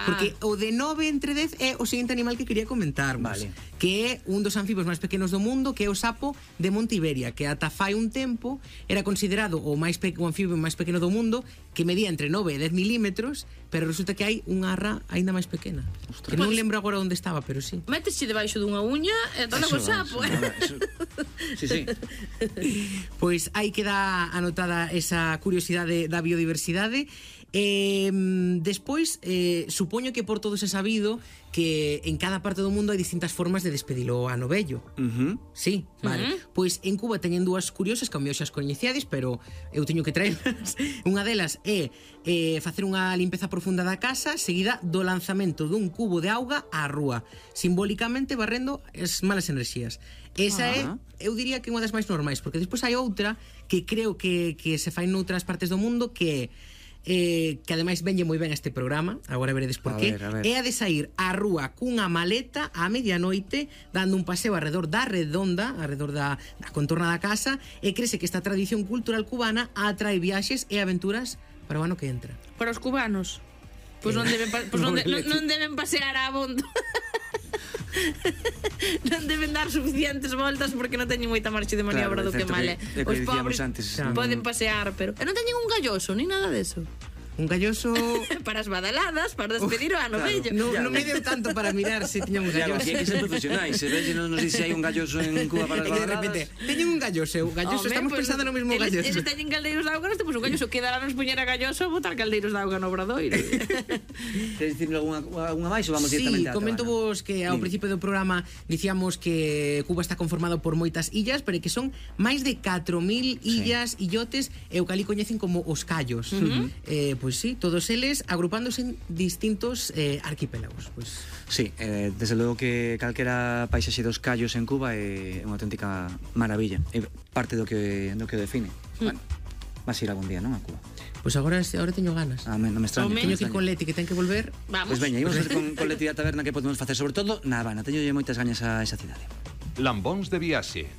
Porque o de 9 entre 10 é o seguinte animal que quería comentarmos, que é un dos anfibios máis pequenos do mundo, que é o sapo de Monte Iberia, que ata fai un tempo era considerado o anfibio máis pequeno do mundo, que medía entre 9 e 10 milímetros, pero resulta que hai unha arra aínda máis pequena. Que non lembro agora onde estaba, pero sí. Métese debaixo dunha uña e dole co sapo. Sí. Pois aí queda anotada esa curiosidade da biodiversidade. Despois, supoño que por todo se sabido que en cada parte do mundo hai distintas formas de despedilo ano vello. Sí, vale. Pois en Cuba teñen dúas curiosas que ao mellor xa as coñeciades, pero eu teño que traerlas. Unha delas é facer unha limpeza profunda da casa seguida do lanzamento dun cubo de auga á rúa, simbólicamente barrendo as malas enerxías. Esa é, eu diría que unha das máis normais, porque despois hai outra que creo que se fai noutras partes do mundo, que ademais venlle moi ben a este programa, agora veredes por qué. É a de sair á rúa cunha maleta á medianoite dando un paseo arredor da redonda, arredor da contorna da casa, e crese que esta tradición cultural cubana atrae viaxes e aventuras para o ano que entra. Para os cubanos pois non deben pasear a abondo. Non deben dar suficientes voltas porque non teñen moita marxe de maniobra do que male. Os pobres poden pasear, pero non teñen un galloso, ni nada deso. Un galloso para as badaladas, para despedir o ano vello. Non me deu tanto para mirar se tiñan un galloso. Aquí hai que ser profesionais. Se veis, non sei se hai un galloso en Cuba para as badaladas. De repente, teñen un galloso. Estamos pensando no mesmo galloso. Eles teñen caldeiros de auga, pues un galloso quedará nos poñer a galloso botar caldeiros de auga no obradoiro. Queres dicirme algunha máis ou vamos directamente a comento vos que ao principio do programa dicíamos que Cuba está conformado por moitas illas, pero que son máis de 4.000 illas, illotes, e o que ali coñecen como os callos. Pois sí, todos eles agrupándose en distintos arquipélagos. Sí, desde logo que calquera paisaxe dos callos en Cuba é unha auténtica maravilla. É parte do que define. Bueno, vas ir algún día, non, a Cuba? Pois agora teño ganas. Non me extraña. Teño que ir con Leti, que ten que volver. Vamos. Pois veña, íbamos a facer con Leti a taberna que podemos facer. Sobre todo, na Habana. Teño moitas gañas a esa cidade. Lambóns de viaxe.